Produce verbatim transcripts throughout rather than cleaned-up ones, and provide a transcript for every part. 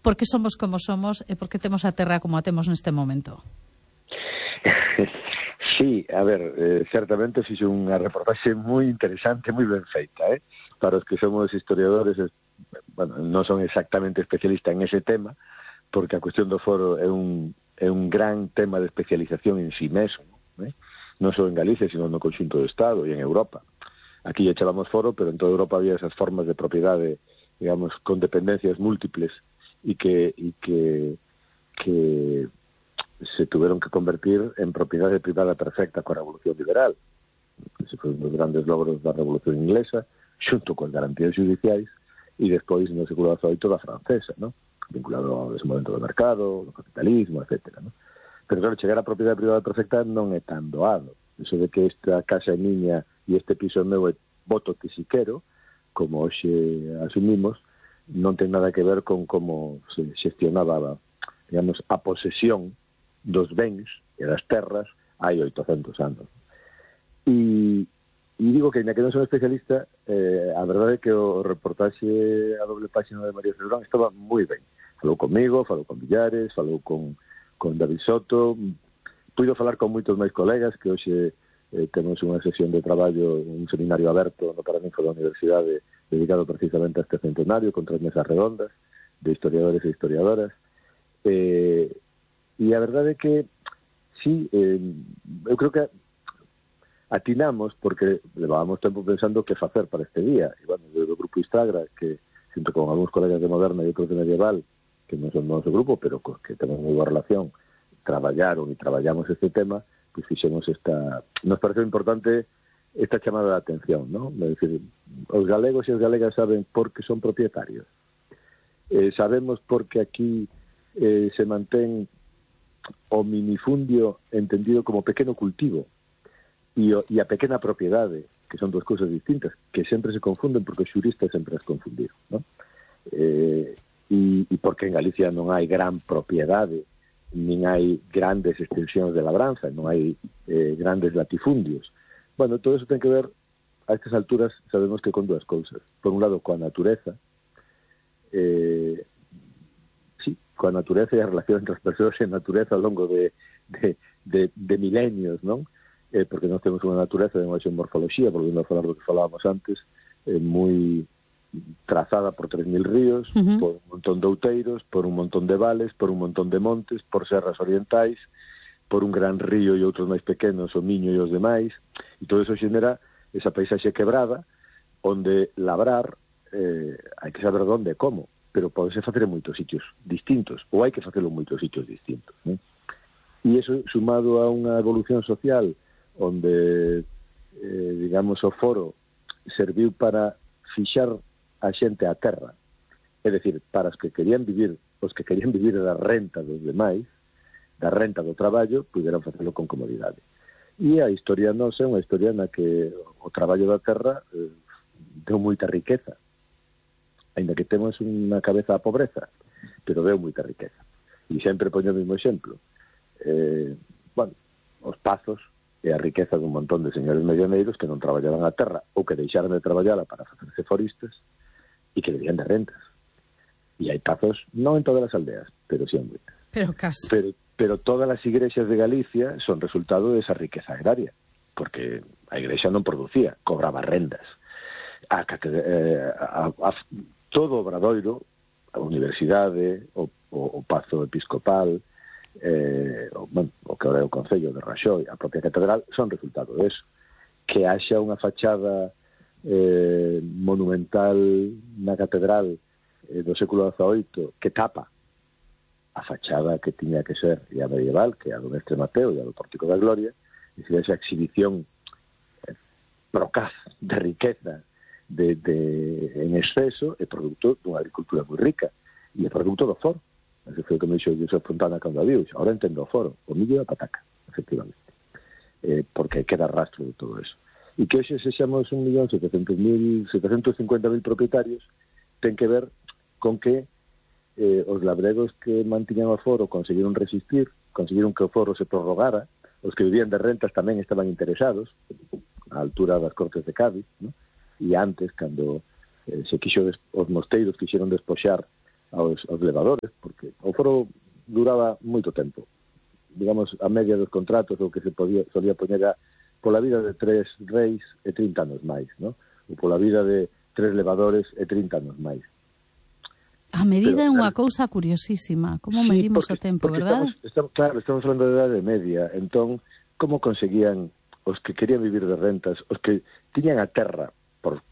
por que somos como somos e por que temos a terra como a temos neste momento. Sí, a ver, eh, certamente fixe unha reportaxe moi interesante, moi ben feita, eh? Para os que somos historiadores, bueno, non son exactamente especialistas en ese tema, porque a cuestión do foro é un, é un gran tema de especialización en sí mesmo, eh? Non só en Galicia, sino no conxunto do Estado e en Europa. Aquí lle chamamos foro, pero en toda Europa había esas formas de propiedade, digamos, con dependencias múltiples e que, e que, que se tuvieron que convertir en propiedade privada perfecta coa Revolución Liberal. Ese foi un dos grandes logros da Revolución Inglesa, xunto con garantías judiciais, e despois no século dezoito da francesa, ¿no? Vinculado ao desenvolvemento do mercado, do capitalismo, etcétera, ¿no? Pero claro, chegar a propiedade privada perfecta non é tan doado. Eso de que esta casa é miña e este piso é meu e voto que si quero, como hoxe asumimos, non ten nada que ver con como se xestionaba, digamos, a posesión dos bens e das terras hai oitocentos anos. E, e digo que, ainda que non son especialista, eh, a verdade é que o reportaxe a doble página de María Cebrón estaba moi ben. Falou comigo, falou con Villares, falou con, con David Soto, puido falar con moitos máis colegas, que hoxe eh, temos unha sesión de traballo, un seminario aberto no Paraninfo da Universidade dedicado precisamente a este centenario, con tres mesas redondas de historiadores e historiadoras. Eh, E a verdade é que, sí, eh, eu creo que atinamos, porque levábamos tempo pensando que facer para este día. E, bueno, do grupo Istagra, que, junto con algúns colegas de Moderna e outros de Medieval, que non son do noso grupo, pero que temos moi boa relación, traballaron e traballamos este tema, pois fixemos esta... Nos pareceu importante esta chamada de atención, non? É dicir, os galegos e as galegas saben por que son propietarios. Eh, sabemos por que aquí eh, se mantén o minifundio entendido como pequeno cultivo e, o, e a pequena propiedade, que son duas cousas distintas, que sempre se confunden porque os xuristas sempre as confundiron, ¿no? Eh, e, e porque en Galicia non hai gran propiedade, nin hai grandes extensións de labranza, non hai eh, grandes latifundios. Bueno, todo eso ten que ver, a estas alturas, sabemos que con dúas cousas. Por un lado, coa natureza, eh, coa natureza e a relación entre as persoas e a natureza ao longo de, de, de, de milenios, non? Eh, porque nós temos unha natureza de unha morfología, volvendo a falar do que falábamos antes, eh, moi trazada por tres mil ríos, uh-huh. por un montón de outeiros, por un montón de vales, por un montón de montes, por serras orientais, por un gran río e outros máis pequenos, o Miño e os demais, e todo eso xenera esa paisaxe quebrada, onde labrar eh, hai que saber onde e como, pero pode ser facer en moitos sitios distintos, ou hai que facelo en moitos sitios distintos, ¿no? E iso, sumado a unha evolución social, onde, eh, digamos, o foro serviu para fixar a xente á terra, é dicir, para os que querían vivir, os que querían vivir da renta dos demais, da renta do traballo, puderan facelo con comodidade. E a historia nosa é unha historia na que o traballo da terra eh, deu moita riqueza, ainda que temos unha cabeza a pobreza, pero deu moita riqueza. E sempre poño o mesmo exemplo. Eh, bueno, os pazos e a riqueza dun montón de señores medianeiros que non traballaban a terra ou que deixaron de traballar para facerse foristas e que vivían de rentas. E hai pazos, non en todas as aldeas, pero sí en moitas. Pero casi. Pero, pero todas as igrexas de Galicia son resultado desa riqueza agraria, porque a igrexa non producía, cobraba rendas. A, eh, a, a, todo o Obradoiro, a universidade, o, o, o Pazo Episcopal, eh, o, bueno, o que é o Concello de Raxoi, a propia catedral, son resultado de eso. Que haxa unha fachada eh, monumental na catedral eh, do século dezaoito que tapa a fachada que tiña que ser e a medieval, que é a do Mestre Mateo e a do Pórtico da Gloria, e se esa exhibición eh, procaz de riqueza De, de, en exceso, é produto dunha agricultura moi rica e é produto do foro. Ese foi o que me dixo José Fontana cando a viu. Ahora entendo o foro, o millo e a pataca, efectivamente, eh, porque queda rastro de todo eso. E que hoxe sexamos un millón setecentos mil, setecentos cincuenta mil propietarios ten que ver con que eh, os labregos que mantiñan o foro conseguiron resistir, conseguiron que o foro se prorrogara, os que vivían de rentas tamén estaban interesados, á altura das Cortes de Cádiz, ¿no? E antes, cando eh, se quixo des, os mosteiros quixeron despoxar aos, aos levadores, porque o foro duraba moito tempo. Digamos, a media dos contratos, o que se podía, solía poñer a pola vida de tres reis e trinta anos máis, ¿no? Ou pola vida de tres levadores e trinta anos máis. A medida é unha cousa curiosísima. Como sí, medimos porque, o tempo, porque verdad? Estamos, estamos, claro, estamos falando de idade media. Entón, como conseguían os que querían vivir de rentas, os que tiñan a terra por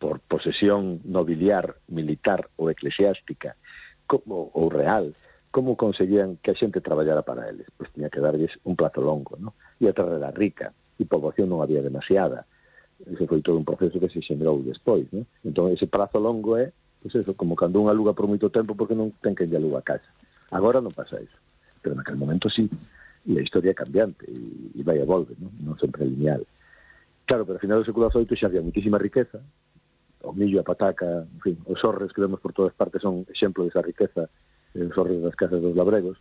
por posesión nobiliar, militar ou eclesiástica, como, ou real, como conseguían que a xente traballara para eles? Pois tiña que darlles un plazo longo, ¿no? E a terra era rica, e poboación non había demasiada. Ese foi todo un proceso que se xenerou despois, ¿no? Entón, ese prazo longo é, pois eso, como cando un aluga por moito tempo porque non ten que lle aluga a casa. Agora non pasa eso, pero naquele momento sí, e a historia é cambiante, e, e vai e volve, ¿no? Non sempre lineal. Claro, pero ao final do século dezoito xa había muitísima riqueza, o millo, a pataca, en fin, os orres que vemos por todas partes son exemplo desa riqueza, os orres das casas dos labregos.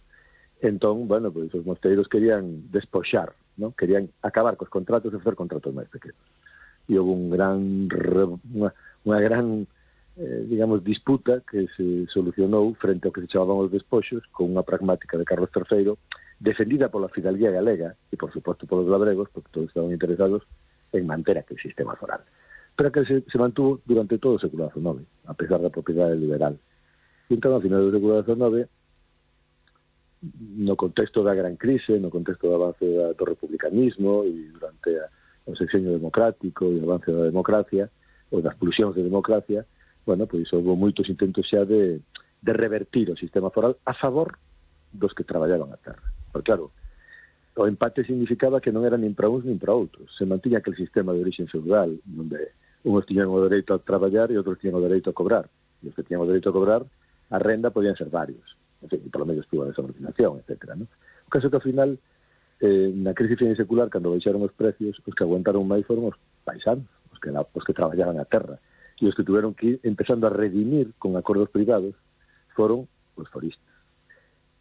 Entón, bueno, pois os mosteiros querían despoxar, ¿no? Querían acabar cos contratos e facer contratos máis pequenos. E houve un gran, unha, unha gran, eh, digamos, disputa que se solucionou frente ao que se chamaban os despoxos, con unha pragmática de Carlos terceiro, defendida pola fidalguía galega, e por suposto polos labregos, porque todos estaban interesados en manter aquel sistema foral. Pero que se, se mantuvo durante todo o século dezenove, a pesar da propiedade liberal. E entón, ao final do século dezenove, no contexto da gran crise, no contexto do avance da, do republicanismo e durante a, o sexenio democrático e o avance da democracia, ou das pulsións de democracia, bueno, pois houve moitos intentos xa de, de revertir o sistema foral a favor dos que traballaban a terra. Porque, claro, o empate significaba que non era nin para uns nin para outros. Se mantiña aquel sistema de origen feudal, onde uns tiñan o dereito a traballar e outros tiñan o dereito a cobrar. E os que tiñan o dereito a cobrar, a renda podían ser varios. En fin, polo menos estuvo a desordinación, etcétera, ¿no? O caso que, ao final, eh, na crise secular, cando baixaron os precios, os que aguantaron máis foron os paisanos, os que, la, os que traballaban a terra. E os que tuveron que ir empezando a redimir con acordos privados foron os foristas.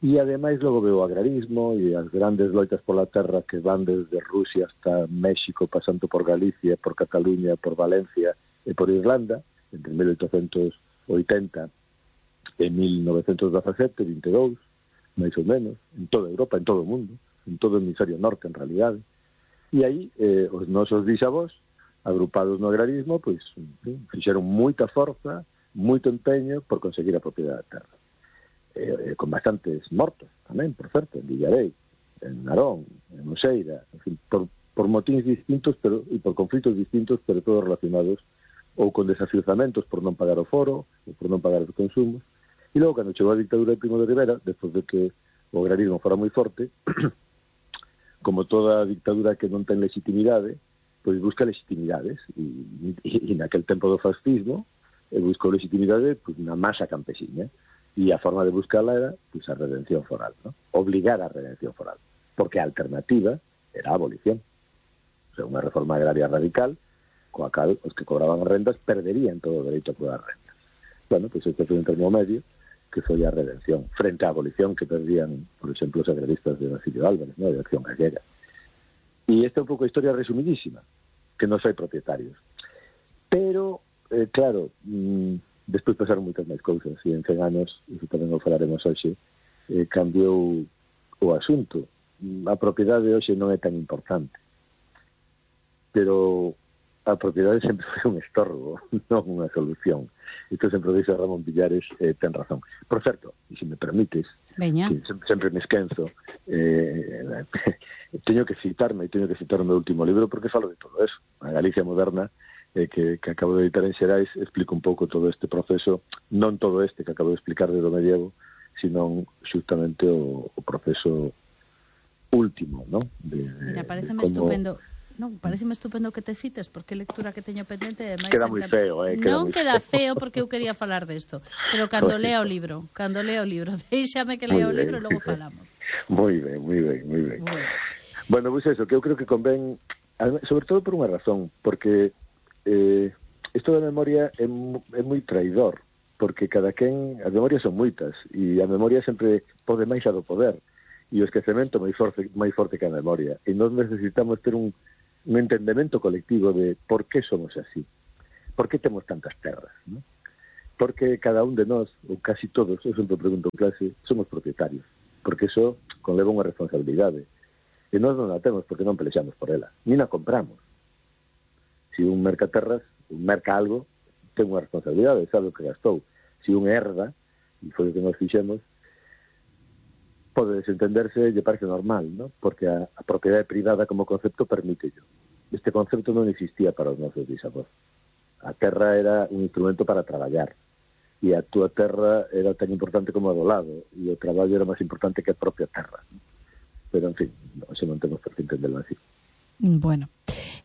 E, ademais, logo veo o agrarismo e as grandes loitas pola terra que van desde Rusia hasta México, pasando por Galicia, por Cataluña, por Valencia e por Irlanda, entre mil oitocentos oitenta e mil novecentos dezasete, vinte e dous, máis ou menos, en toda Europa, en todo o mundo, en todo o hemisferio norte, en realidade. E aí, eh, os nosos bisavós, agrupados no agrarismo, pois, en fin, fixeron moita forza, moito empeño por conseguir a propiedade da terra. Eh, con bastantes mortos tamén, por certo, en Villarei, en Narón, en Oseira, en fin, por, por motivos distintos pero, e por conflitos distintos, pero todos relacionados ou con desafiuzamentos por non pagar o foro ou por non pagar os consumos. E logo, cando chegou a dictadura de Primo de Rivera, despois de que o agrarismo fora moi forte, como toda dictadura que non ten legitimidade, pois busca legitimidades, e, e, e naquel tempo do fascismo e buscou legitimidade pois, na masa campesina. E a forma de buscarla era pues, a redención foral, ¿no? Obligar a redención foral, porque a alternativa era a abolición. O sea, unha reforma agraria radical, coa cal os que cobraban rendas perderían todo o dereito a cobrar rendas. Bueno, pues este foi un termo medio que foi a redención, frente á abolición que perdían, por exemplo, os agraristas de Basilio Álvarez, ¿no? De Acción Gallega. E esta é un pouco a historia resumidísima, que non hai propietarios. Pero, eh, claro... Mmm, despois pasaron moitas máis cousas e en cen anos, iso tamén o falaremos hoxe, eh, cambiou o asunto. A propiedade hoxe non é tan importante, pero a propiedade sempre foi un estorbo, non unha solución. Isto sempre o dixe Ramón Villares, eh, ten razón. Por certo, e se me permites, Veña. que sempre, sempre me esquenzo, eh, teño que citarme, e teño que citar o meu último libro porque falo de todo eso. A Galicia moderna, eh, que, que acabo de editar en Xerais, explico un pouco todo este proceso, non todo este que acabo de explicar de do medievo, sino xustamente o, o proceso último, ¿no? De, Mira, pareceme como... estupendo. Non, pareceme estupendo que te cites, porque lectura que teño pendente e máis queda moi feo, eh, queda non moi queda feo. feo porque eu quería falar desto, pero cando lea o libro, cando lea o libro, déixame que lea o libro e logo falamos. Moi ben, moi ben, moi ben. Bueno, bueno, pois pues eso, que eu creo que convén, sobre todo por unha razón, porque eh, isto da memoria é, é moi traidor, porque cada quen, as memorias son moitas, e a memoria sempre pode máis a do poder, e o esquecemento máis forte, máis forte que a memoria, e nós necesitamos ter un un entendemento colectivo de por que somos así, por que temos tantas terras, ¿no? porque cada un de nós, ou casi todos, eu sempre pregunto en clase, somos propietarios, porque eso conleva unha responsabilidade. E nós non a temos porque non pelexamos por ela, ni na compramos. Se un merca terras, un merca algo, ten unha responsabilidade, sabe o que gastou. Se un herda, e foi o que nós fixemos, pode desentenderse e lle parece normal, ¿no? Porque a, a propiedade privada como concepto permite yo. Este concepto non existía para os nosos bisavós. A terra era un instrumento para traballar, e a túa terra era tan importante como a do lado, e o traballo era máis importante que a propia terra. Pero, en fin, non, se non temos por que entenderlo así. Bueno,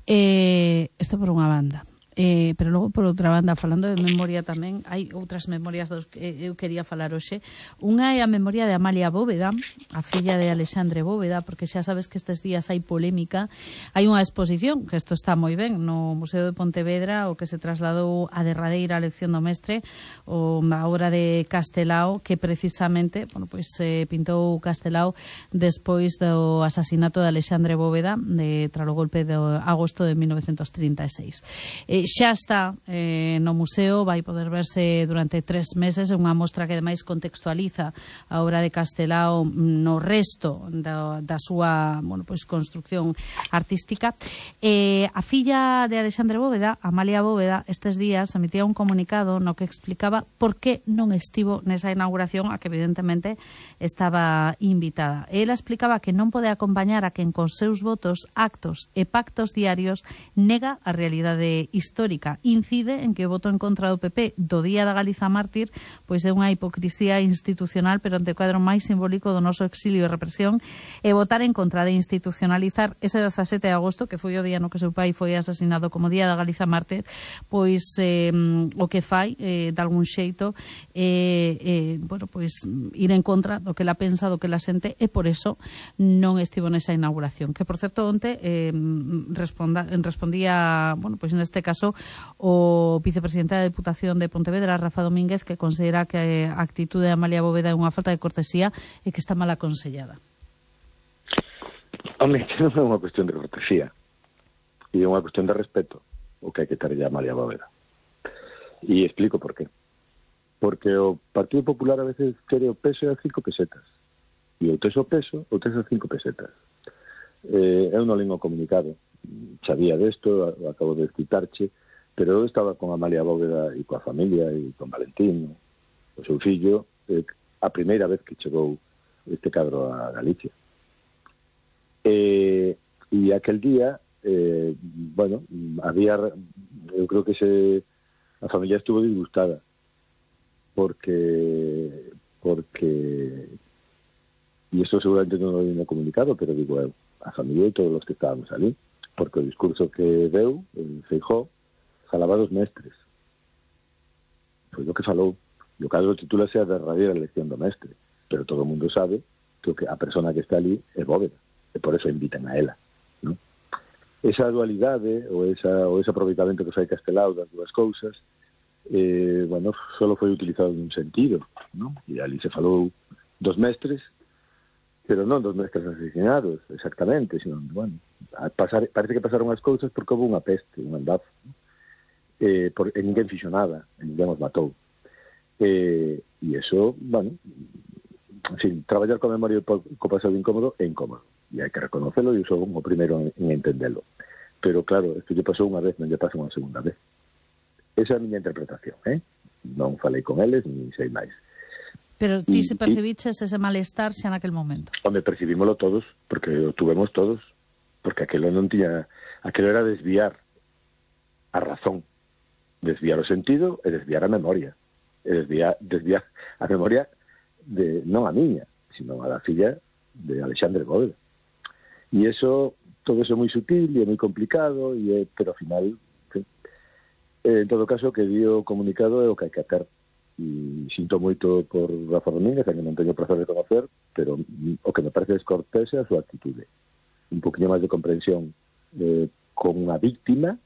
eh, isto por unha banda. Eh, pero logo, por outra banda, falando de memoria tamén, hai outras memorias dos que eu quería falar hoxe. Unha é a memoria de Amalia Bóveda, a filla de Alexandre Bóveda, porque xa sabes que estes días hai polémica. Hai unha exposición, que isto está moi ben, no Museo de Pontevedra, o que se trasladou a derradeira lección do mestre, o a obra de Castelao, que precisamente, bueno, pois eh, pintou Castelao despois do asasinato de Alexandre Bóveda, de, tras o golpe de agosto de mil novecientos trinta e seis. Eh, xa está eh, no museo, vai poder verse durante tres meses, unha mostra que ademais contextualiza a obra de Castelao no resto da, da súa, bueno, pois, construcción artística. Eh, a filla de Alexandre Bóveda, Amalia Bóveda, estes días emitía un comunicado no que explicaba por que non estivo nesa inauguración, a que evidentemente estaba invitada. Ela explicaba que non pode acompañar a quen cos seus votos, actos e pactos diarios nega a realidade histórica histórica. Incide en que o voto en contra do P P do Día da Galiza Mártir pois é unha hipocrisía institucional, pero ante o cuadro máis simbólico do noso exilio e represión, e votar en contra de institucionalizar ese dezasete de agosto, que foi o día no que seu pai foi asesinado como Día da Galiza Mártir, pois eh, o que fai eh, de algún xeito eh, eh, bueno, pois ir en contra do que la pensa, do que la sente, e por eso non estivo nesa inauguración, que por certo onte eh, responda, respondía, bueno, pois neste caso o vicepresidente da Deputación de Pontevedra, Rafa Domínguez, que considera que a actitude de Amalia Bóveda é unha falta de cortesía e que está mal aconsellada. Home, que non é unha cuestión de cortesía, e é unha cuestión de respeto o que hai que ter a Amalia Bóveda. E explico por qué. Porque o Partido Popular a veces quere o peso a cinco pesetas, e o tes o peso, o tes a cinco pesetas. Eh, eu non lingo comunicado, sabía desto, acabo de citarche, pero eu estaba con Amalia Bóveda e coa familia e con Valentín, o seu fillo, eh, a primeira vez que chegou este cadro a Galicia. E, e aquel día, eh, bueno, había, eu creo que se, a familia estuvo disgustada, porque, porque, e isto seguramente non lo había comunicado, pero digo eu, a familia e todos os que estábamos ali, porque o discurso que deu, en Feijóo, falaba dos mestres. Foi o que falou. E o cadro titúlase a derradeira elección do mestre. Pero todo o mundo sabe que a persona que está ali é Bóveda. E por eso invitan a ela, ¿no? Esa dualidade, ou, esa, ou ese aproveitamento que fai Castelao das dúas cousas, eh, bueno, só foi utilizado nun sentido, ¿no? E ali se falou dos mestres, pero non dos mestres asesinados, exactamente, sino, bueno, a pasar, parece que pasaron as cousas porque houve unha peste, un andazo, ¿no? eh, por, e ninguén fixo nada, e ninguén os matou. Eh, e iso, bueno, en fin, traballar con a memoria co pasado incómodo é incómodo, e hai que reconocelo, e eu sou o primeiro en, en entendelo. Pero, claro, isto lle pasou unha vez, non lle pasa unha segunda vez. Esa é a miña interpretación, eh? Non falei con eles, ni sei máis. Pero ti se percibiches ese malestar xa naquel momento? Home, percibímolo todos, porque o tuvemos todos, porque aquelo non tiña, aquelo era desviar a razón, desviar o sentido e desviar a memoria, e desviar, desviar a memoria de, non a miña, sino a da filla de Alexandre Bóveda. E eso, todo eso é moi sutil e é moi complicado, e é, pero ao final, sí. En todo caso, que dio comunicado é o que hai que hacer. E sinto moito por Rafa Domínguez, que non teño placer de conocer, pero o que me parece descortés é a súa actitude. Un poquinho máis de comprensión eh, con unha víctima,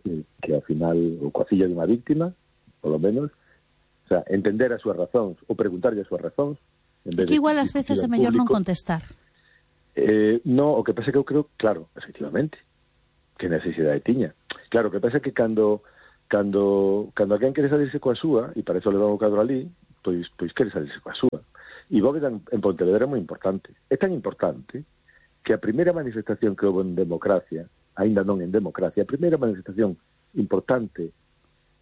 eh, que ao final, ou coa filla de unha víctima, polo menos, o sea, entender as súas razóns, ou preguntarlle as súas razóns. En vez que igual ás veces é mellor non contestar. Eh, no, o que pasa que eu creo, claro, efectivamente, que necesidade tiña. Claro, o que pasa que cando cando, cando alguén quere salirse coa súa, e para eso leva o cadro ali, pois, pois quere salirse coa súa. E Bóveda en, en Pontevedra é moi importante. É tan importante que a primeira manifestación que houve en democracia, aínda non en democracia, a primeira manifestación importante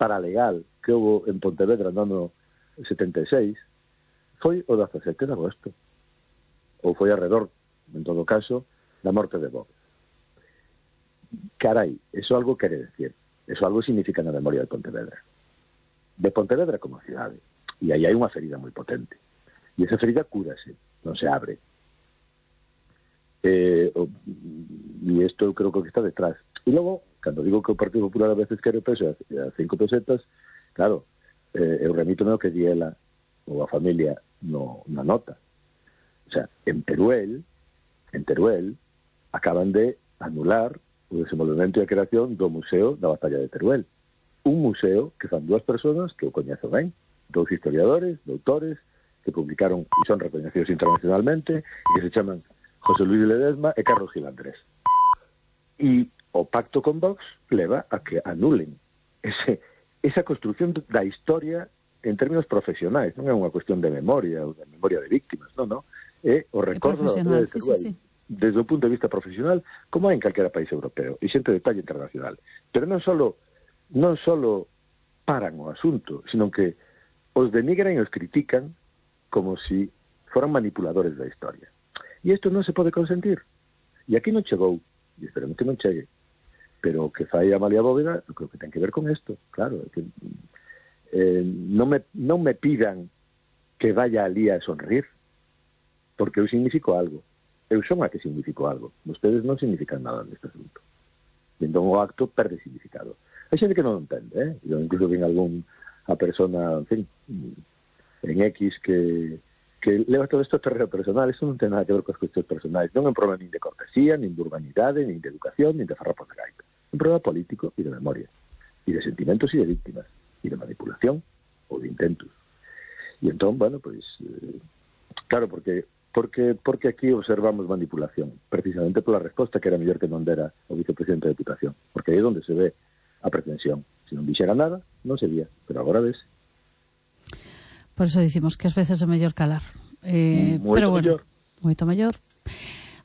paralegal que houve en Pontevedra no ano setenta e seis foi o dezasete de agosto, ou foi alrededor, en todo caso, da morte de Bóveda. Carai, eso algo quere decir, eso algo significa na memoria de Pontevedra, de Pontevedra como cidade, e aí hai unha ferida moi potente, e esa ferida cúrase, non se abre. Eh, o, e isto eu creo que está detrás. E logo, cando digo que o Partido Popular a veces quere peso a cinco pesetas, claro, eh, eu remítome ao que di ela ou a familia no, na nota. O sea, en Teruel, en Teruel, acaban de anular o desenvolvemento e a creación do Museo da Batalla de Teruel. Un museo que fan dúas persoas que o coñezo ben, dous historiadores, doutores, que publicaron e son recoñecidos internacionalmente, e que se chaman José Luis Ledesma e Carlos Gil Andrés. E o pacto con Vox leva a que anulen ese, esa construción da historia en términos profesionais. Non é unha cuestión de memoria ou de memoria de víctimas, non, non. É o recordo da batalla de Teruel, sí, sí, sí, desde o punto de vista profesional, como hai en calquera país europeo, e xente de talla internacional. Pero non solo, non solo paran o asunto, sino que os denigran e os critican como si foran manipuladores da historia. E isto non se pode consentir. E aquí non chegou, e esperemos que non chegue. Pero o que fai Amalia Bóveda, eu creo que ten que ver con isto, claro, que eh, non, me, non me pidan que vaya ali a sonrir, porque eu significo algo. Eu son a que significo algo. Ustedes non significan nada neste asunto. E entón o acto perde significado. Hai xente que non entende, eh? Eu incluso vi algún a persona, en fin, en X que, que leva todo isto a terreno personal. Isto non ten nada que ver con as cuestións personais. Non é un problema nin de cortesía, nin de urbanidade, nin de educación, nin de farrapos de gaita. Un problema político e de memoria. E de sentimentos e de víctimas. E de manipulación ou de intentos. E entón, bueno, pois, eh, claro, porque porque porque aquí observamos manipulación, precisamente pola resposta que era mellor que non dera o vicepresidente da Deputación, porque aí é onde se ve a pretensión. Se non dixera nada, non se vía, pero agora ves. Por eso dicimos que ás veces é mellor calar. Eh, moito pero bueno, mellor. Moito mellor.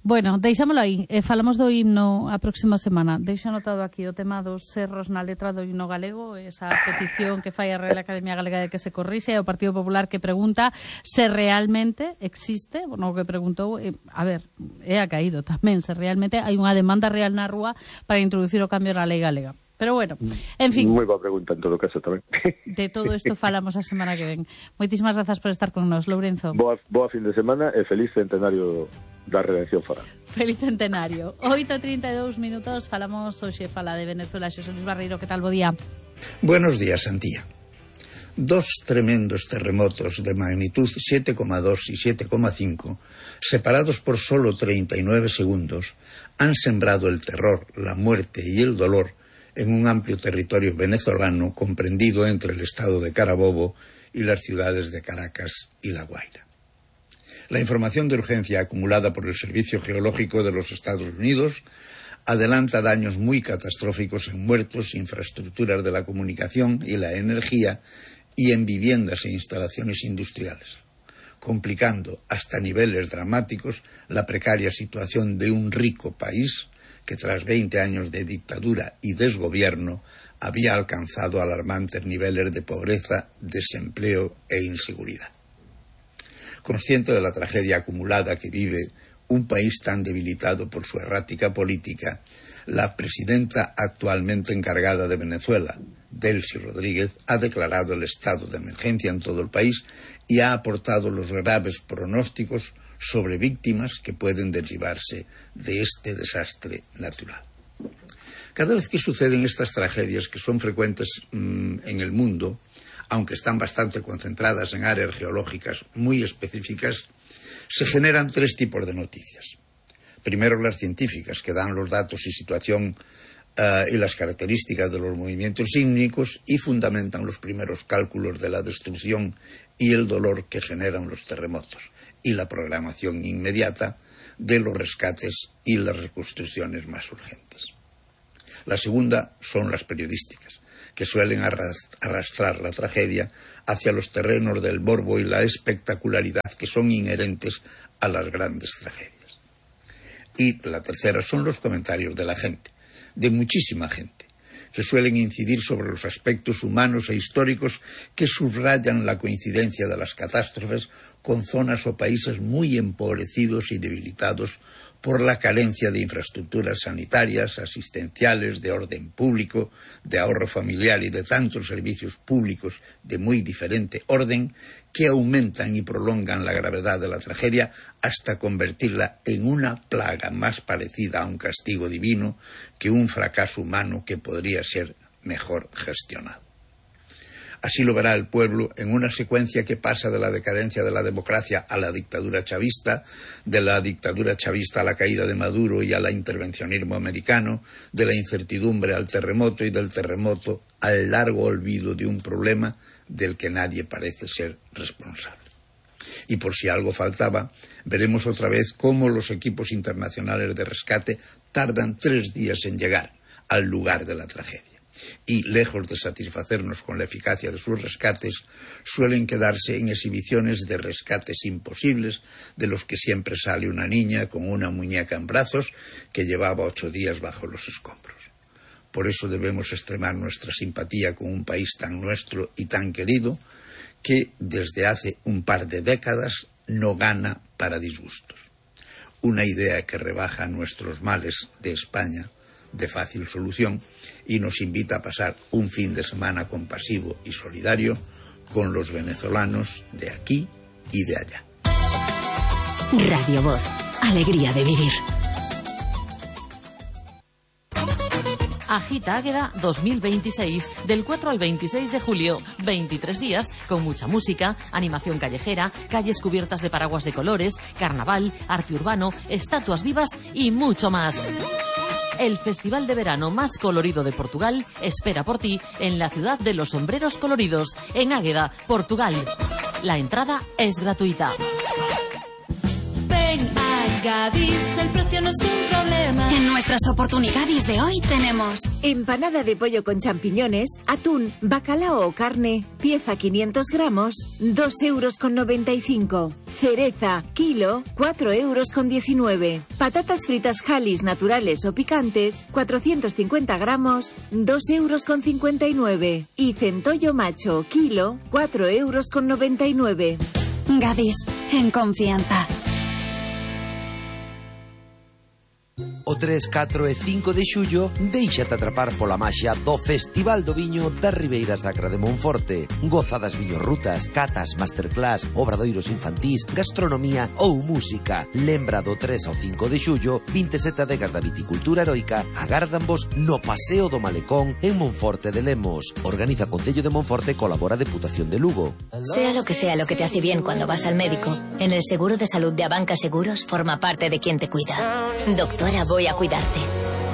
Bueno, deixámoslo aí. Eh, falamos do himno a próxima semana. Deixo anotado aquí o tema dos cerros na letra do himno galego, esa petición que fai a Real Academia Galega de que se corrixe, e o Partido Popular que pregunta se realmente existe, bueno, o que preguntou, eh, a ver, é a caído tamén, se realmente hai unha demanda real na rúa para introducir o cambio na lei galega. Pero bueno, en fin. Moi boa pregunta en todo caso tamén. De todo isto falamos a semana que ven. Moitísimas grazas por estar con nos, Lourenzo. Boa, boa fin de semana e feliz centenario da Redención Foral. Feliz centenario. oito e trinta e dous minutos, falamos hoxe, fala de Venezuela. Xosé Luis Barreiro, que tal, bo día? Buenos días, Antía. Dos tremendos terremotos de magnitud siete coma dos y siete coma cinco, separados por solo treinta y nueve segundos, han sembrado el terror, la muerte y el dolor en un amplio territorio venezolano comprendido entre el estado de Carabobo y las ciudades de Caracas y La Guaira. La información de urgencia acumulada por el Servicio Geológico de los Estados Unidos adelanta daños muy catastróficos en muertos, infraestructuras de la comunicación y la energía y en viviendas e instalaciones industriales, complicando hasta niveles dramáticos la precaria situación de un rico país que tras veinte años de dictadura y desgobierno había alcanzado alarmantes niveles de pobreza, desempleo e inseguridad. Consciente de la tragedia acumulada que vive un país tan debilitado por su errática política, la presidenta actualmente encargada de Venezuela, Delcy Rodríguez, ha declarado el estado de emergencia en todo el país y ha aportado los graves pronósticos sobre víctimas que pueden derivarse de este desastre natural. Cada vez que suceden estas tragedias, que son frecuentes mmm, en el mundo, aunque están bastante concentradas en áreas geológicas muy específicas, se generan tres tipos de noticias. Primero, las científicas, que dan los datos y situación uh, y las características de los movimientos sísmicos y fundamentan los primeros cálculos de la destrucción y el dolor que generan los terremotos, y la programación inmediata de los rescates y las reconstrucciones más urgentes. La segunda son las periodísticas, que suelen arrastrar la tragedia hacia los terrenos del morbo y la espectacularidad que son inherentes a las grandes tragedias. Y la tercera son los comentarios de la gente, de muchísima gente, que suelen incidir sobre los aspectos humanos e históricos que subrayan la coincidencia de las catástrofes con zonas o países muy empobrecidos y debilitados por la carencia de infraestructuras sanitarias, asistenciales, de orden público, de ahorro familiar y de tantos servicios públicos de muy diferente orden que aumentan y prolongan la gravedad de la tragedia hasta convertirla en una plaga más parecida a un castigo divino que un fracaso humano que podría ser mejor gestionado. Así lo verá el pueblo en una secuencia que pasa de la decadencia de la democracia a la dictadura chavista, de la dictadura chavista a la caída de Maduro y a la intervencionismo americano, de la incertidumbre al terremoto y del terremoto al largo olvido de un problema del que nadie parece ser responsable. Y por si algo faltaba, veremos otra vez cómo los equipos internacionales de rescate tardan tres días en llegar al lugar de la tragedia. Y, lejos de satisfacernos con la eficacia de sus rescates, suelen quedarse en exhibiciones de rescates imposibles, de los que siempre sale una niña con una muñeca en brazos que llevaba ocho días bajo los escombros. Por eso debemos extremar nuestra simpatía con un país tan nuestro y tan querido, que desde hace un par de décadas no gana para disgustos. Una idea que rebaja nuestros males de España de fácil solución y nos invita a pasar un fin de semana compasivo y solidario con los venezolanos de aquí y de allá. Radio Voz, alegría de vivir. Agita Águeda dos mil veintiséis, del cuatro al veintiséis de julio, veintitrés días con mucha música, animación callejera, calles cubiertas de paraguas de colores, carnaval, arte urbano, estatuas vivas y mucho más. El festival de verano más colorido de Portugal espera por ti en la ciudad de los sombreros coloridos, en Águeda, Portugal. La entrada es gratuita. Ven a Gadis, el precio no es un problema. En nuestras oportunidades de hoy tenemos empanada de pollo con champiñones, atún, bacalao o carne, pieza quinientos gramos, dos euros con noventa y cinco. Cereza, kilo, cuatro euros con diecinueve. Patatas fritas Halis naturales o picantes, cuatrocientos cincuenta gramos, dos euros con cincuenta y nueve. Y centollo macho, kilo, cuatro euros con noventa y nueve. Gadis, en confianza. O tres, catro e cinco de xullo, déixate atrapar pola maxia do Festival do Viño da Ribeira Sacra de Monforte. Goza das viñorrutas, catas, masterclass, obradoiros infantís, gastronomía ou música. Lembra do tres ao cinco de xullo, vinte e sete adegas da viticultura heroica agárdanvos no Paseo do Malecón en Monforte de Lemos. Organiza Concello de Monforte, colabora Deputación de Lugo. Sea lo que sea lo que te hace bien cuando vas al médico, en el seguro de salud de Abanca Seguros forma parte de quien te cuida. Doctora, voy a cuidarte.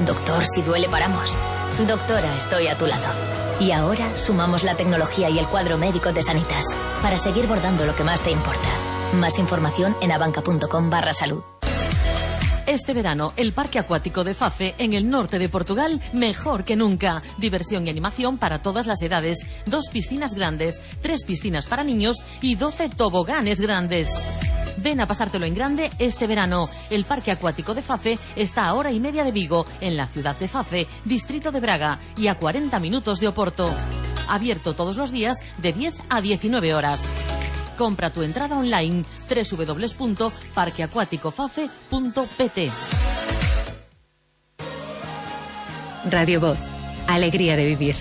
Doctor, si duele paramos. Doctora, estoy a tu lado. Y ahora sumamos la tecnología y el cuadro médico de Sanitas para seguir bordando lo que más te importa. Más información en abanca.com barra salud. Este verano, el Parque Acuático de Fafe, en el norte de Portugal, mejor que nunca. Diversión y animación para todas las edades. Dos piscinas grandes, tres piscinas para niños y doce toboganes grandes. Ven a pasártelo en grande este verano. El Parque Acuático de Fafe está a hora y media de Vigo, en la ciudad de Fafe, distrito de Braga, y a cuarenta minutos de Oporto. Abierto todos los días de diez a diecinueve horas. Compra tu entrada online doble u doble u doble u punto parque acuático fafe punto p t. Radio Voz, alegría de vivir.